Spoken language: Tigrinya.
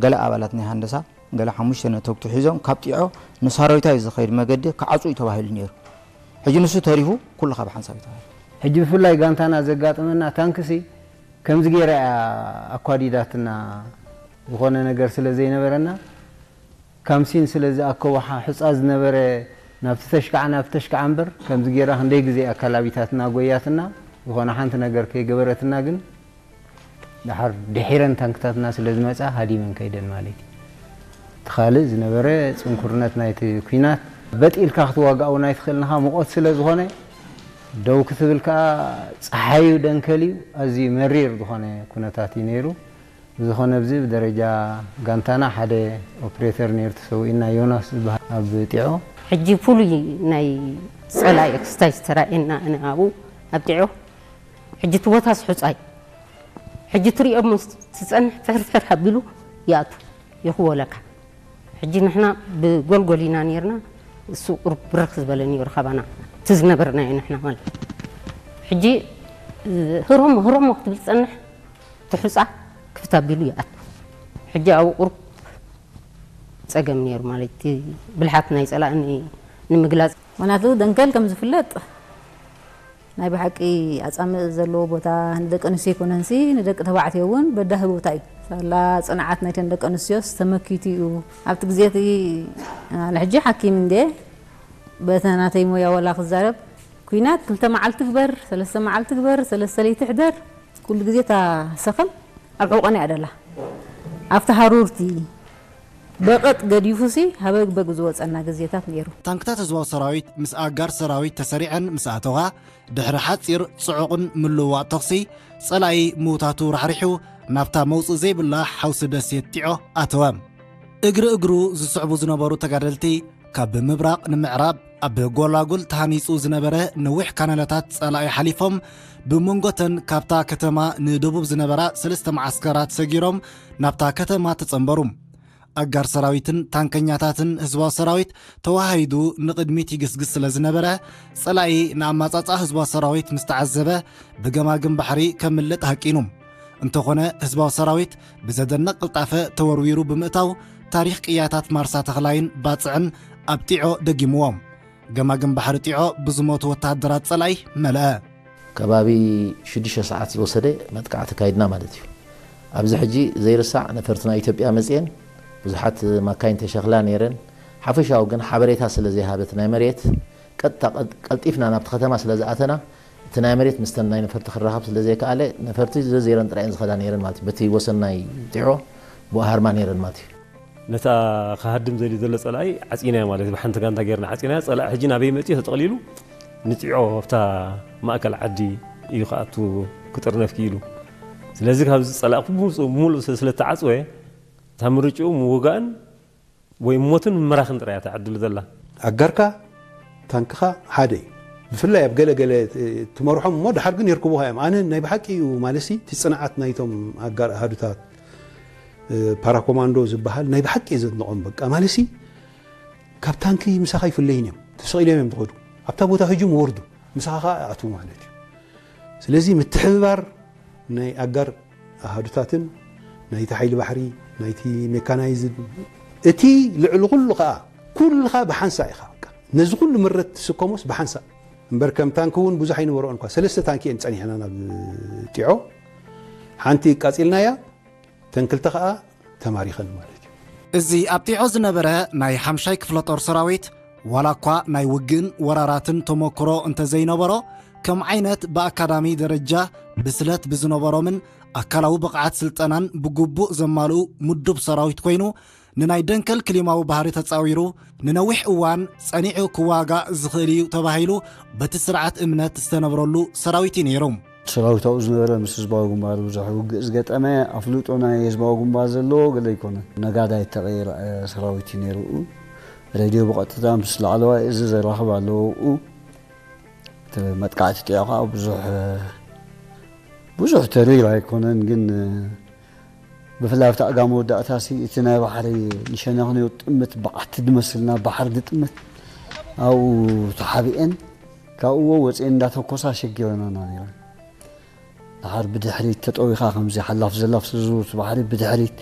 ገለ ኣባላት ናይ ሃንደሳ ገለ ሓሙሽተ ነተግቱ ሒዞም ካብ ጢዖ ንሳሮይታ እዩ ዝኸይድ መገዲ ክዓፁ እዩ ተባሂሉ ነይሩ። ሕጂ ንሱ ተሪፉ ኩልኻ ብሓንሳብ እዩ ተባሂሉ። ሕጂ ብፍላይ ጋንታና ዘጋጠመና ታንክሲ ከምዚ ገይራ እያ ኣኳዲዳትና፣ ዝኾነ ነገር ስለ ዘይነበረና ካምሲን ስለ ዝኣከቦ ሓ- ሑጻ ዝነበረ ናብቲ ተሽካዓ ናብቲ ተሽካዓ እምበር ከምዚ ገይራ ክንደይ ግዜ ኣካላቢታትና ጎያትና ዝኾነ ሓንቲ ነገር ከይገበረትና ግን ደሓር ድሒረን ታንክታትና ስለ ዝመጻ ሃዲመን ከይደን ማለት እዩ። እቲ ካልእ ዝነበረ ጽንኩርነት ናይቲ ኲናት በጥ ኢልካ ክትዋጋእ እውን ኣይትኽእልንኻ፣ ሙቐት ስለ ዝኾነ ደው ክትብል ከኣ ጸሓዩ ደንከል እዩ። ኣዝዩ መሪር ዝኾነ ኩነታት እዩ ነይሩ። ብዝኾነ ኣብዚ ብደረጃ ጋንታና ሓደ ኦፕሬተር ነይሩ ተሰዊኡና፣ ዮናስ ዝበሃል ኣብ ጢዖ። ሕጂ ፍሉይ ናይ ጸላኢ ክስታይ ዝተራእየና ኣነ ኣብኡ ኣብ ጢዖ። ሕጂ እቲ ቦታስ ሑጻይ። ሕጂ ትሪኦ እሞ ትጸንሕ ፍሕር ፍሕር ኣቢሉ ይኣቱ ይኽወለካ። ሕጂ ንሕና ብጎልጎል ኢና ነይርና፣ እሱ ቁሩብ ብርኽ ዝበለ ነይሩ ካባና። እቲ ዝነበርናዮ ንሕና ማለት። ሕጂ ህሮሞ ህሮሞ ክትብል ትጸንሕ፣ እቲ ሑጻ ክፍት ኣቢሉ ይኣቱ። ሕጂ ኣብኡ ቁሩብ ጸገም ነይሩ ማለት እቲ ብልሓት ናይ ጸላኢ ን- ንምግላጽ። ምኽንያቱ ደንከል ከም ዝፍለጥ ናይ ብሓቂ ኣጻምእ ዘለዎ ቦታ ንደቂ ኣንስትዮ ኣይኮነንሲ ንደቂ ተባዕትዮ እውን በዳሂ ቦታ እዩ። ሳላ ጽንዓት ናይተን ደቂ ኣንስትዮስ ተመኪቱ እዩ። ኣብቲ ግዜ እቲ ኣነ ሕጂ ሓኪም እንደ በቲ ናተይ ሞያ ወላ ክዛረብ ኩናት ክልተ መዓልቲ ግበር፣ ሰለስተ መዓልቲ ግበር፣ ሰለስተ ለይቲ ሕደር ኩሉ ግዜ እታ ሰኸም ኣብ ሕቖና እያ ደላ። ኣብቲ ሃሩርቲ በቐጥ ገዲፉሲ ሃበግበግ ዝወጸና ግዜታት ነይሩ። ታንክታት ህዝባዊ ሰራዊት ምስ ኣጋር ሰራዊት ተሰሪዐን ምስ ኣተዋ፣ ድሕሪ ሓጺር ጽዑቕን ምልውዋጥ ተኹሲ፣ ጸላኢ ምውታቱ ራሕሪሑ ናብታ መውጽኢ ዘይብላ ሓውሲ ደሴት ጢዖ ኣተወ። እግሪ እግሩ ዝስዕቡ ዝነበሩ ተጋደልቲ ካብ ምብራቕ ንምዕራብ ኣብ ጎላጉል ተሃኒጹ ዝነበረ ነዊሕ ካናለታት ጸላኢ ሓሊፎም ብመንጎተን ካብታ ከተማ ንደቡብ ዝነበራ ሰለስተ መዓስከራት ሰጊሮም ናብታ ከተማ ተጸንበሩ። ኣጋር ሰራዊትን ታንከኛታትን ህዝባዊ ሰራዊት ተዋሃሂዱ ንቕድሚት ይግስግስ ስለ ዝነበረ፣ ጸላኢ ንኣማጻጽኣ ህዝባዊ ሰራዊት ምስ ተዓዘበ ብገማግም ባሕሪ ከምልጥ ሃቂኑ። እንተኾነ ህዝባዊ ሰራዊት ብዘደንቕ ቅልጣፈ ተወርዊሩ ብምእታው ታሪኽ ቅያታት ማርሳ ተኽላይን ባጽዕን ኣብ ጢዖ ደጊምዎ። ገማግም ባሕሪ ጢዖ ብዝሞቱ ወተሃደራት ጸላኢ መለአ። ከባቢ ሽዱሽተ ሰዓት ዝወሰደ መጥቃዕቲ ካይድና ማለት እዩ። ኣብዚ ሕጂ ዘይርሳዕ ነፈርቲ ናይ ኢትዮጵያ መጽየን ብዙሓት ማካይን ተሸኽላ ነይረን። ሓፈሻዊ ግን ሓበሬታ ስለ ዘይሃበት ናይ መሬት ቀጥታ ቀልጢፍና ናብቲ ከተማ ስለ ዝኣተና እቲ ናይ መሬት ምስተን ናይ ነፈርቲ ክራኸብ ስለ ዘይከኣለ ነፈርቲ ዘዘይረን ጥራየን ዝኸዳ ነይረን ማለት እዩ። በቲ ወሰን ናይ ጢዖ ብኡ ሃርማ ነይረን ማለት እዩ። ነታ ክሃድም ዘልዩ ዘሎ ጸላኢ ዓጺናዮ ማለት እዩ። ብሓንቲ ጋንታ ጌርና ዓጺናዮ። ጸላኢ ሕጂ ናበይ መጺኡ ተጠቕሊሉ ንጢዖ ኣብታ ማእከል ዓዲ እዩ ክኣቱ ክጥርነፍ ክኢሉ። ስለዚ ካብዚ ጸላኢ ብሙሉእ ብሙሉእ ስለ ዝተዓጽወ እታ ምርጭኡ ምውጋእን ወይ ሞትን ምምራኽን ጥራይ እያ እታ ዕድሉ ዘላ። ኣጋርካ ታንክኻ ሓደ እዩ። ብፍላይ ኣብ ገለ ገለ ትመርሖም እሞ ድሓር ግን የርክቡኻ እዮም። ኣነ ናይ ብሓቂ እዩ ማለሲ እቲ ጽንዓት ናይቶም ኣጋር ኣሃዱታት ፓራኮማንዶ ዝበሃል ናይ ብሓቂ እየ ዘድንቖም። በቃ ማለሲ ካብ ታንኪ ምሳኻ ይፍለይን እዮም። ተሰቒሎም እዮም ዝኸዱ። ኣብታ ቦታ ህጁም ወርዱ ምሳኻ ከዓ ኣትዉ ማለት እዩ። ስለዚ ምትሕብባር ናይ ኣጋር ኣሃዱታትን ናይቲ ሓይሊ ባሕሪ ናይቲ ሜካናይዝድ እቲ ልዕሊ ኩሉ ከዓ ኩልኻ ብሓንሳእ ኢኻ። በቃ ነዚ ኩሉ ምረት ትስከሞስ ብሓንሳእ እምበር ከም ታንኪ እውን ብዙሕ ኣይነበረኦን እኳ ሰለስተ ታንኪ እየን ጸኒሕና ናብ ጢዖ ሓንቲ ቃጺልናያ ተን ክልተ ከዓ ተማሪኸን ማለት እዩ። እዚ ኣብ ጢዖ ዝነበረ ናይ ሓምሻይ ክፍለ ጦር ሰራዊት ዋላ እኳ ናይ ውግእን ወራራትን ተመክሮ እንተዘይነበሮ ከም ዓይነት ብኣካዳሚ ደረጃ ብስለት ብዝነበሮምን ኣካላዊ ብቕዓት ስልጠናን ብግቡእ ዘማልኡ ምዱብ ሰራዊት ኮይኑ ንናይ ደንከል ክሊማዊ ባህሪ ተጻዊሩ ንነዊሕ እዋን ጸኒዑ ክዋጋእ ዝኽእል እዩ ተባሂሉ በቲ ስርዓት እምነት ዝተነብረሉ ሰራዊት እዩ ነይሩ። ሰራዊት ኣብኡ ዝነበረ ምስ ህዝባዊ ግንባር ብዙሕ ውግእ ዝገጠመ ኣፍልጦ ናይ ህዝባዊ ግንባር ዘለዎ ገለ ኣይኮነን። ነጋዳይ እተቐየረ ሰራዊት እዩ ነይሩ። ሬድዮ ብቐጥታ ምስ ላዕለዋይ እዚ ዘራኽብ ኣለዎ። እቲ መጥቃዕቲ ጢዖ ከዓ ብዙሕ ብዙሕ ተሪር ኣይኮነን ግን ብፍላይ ኣብቲ ኣጋ መወዳእታ ሲ እቲ ናይ ባሕሪ ንሸነኽንዮ ጥምት በዓቲ ድመስልና ባሕሪ ድጥምት ኣብኡ ተሓቢኤን ካብኡዎ ወፅኤን እንዳተኮሳ ሸጊረናና ነይረን። ድሓር ብድሕሪት ተጠዊኻ ከምዚ ሓላፍ ዘላፍ ስዙርት ባሕሪ ብድሕሪት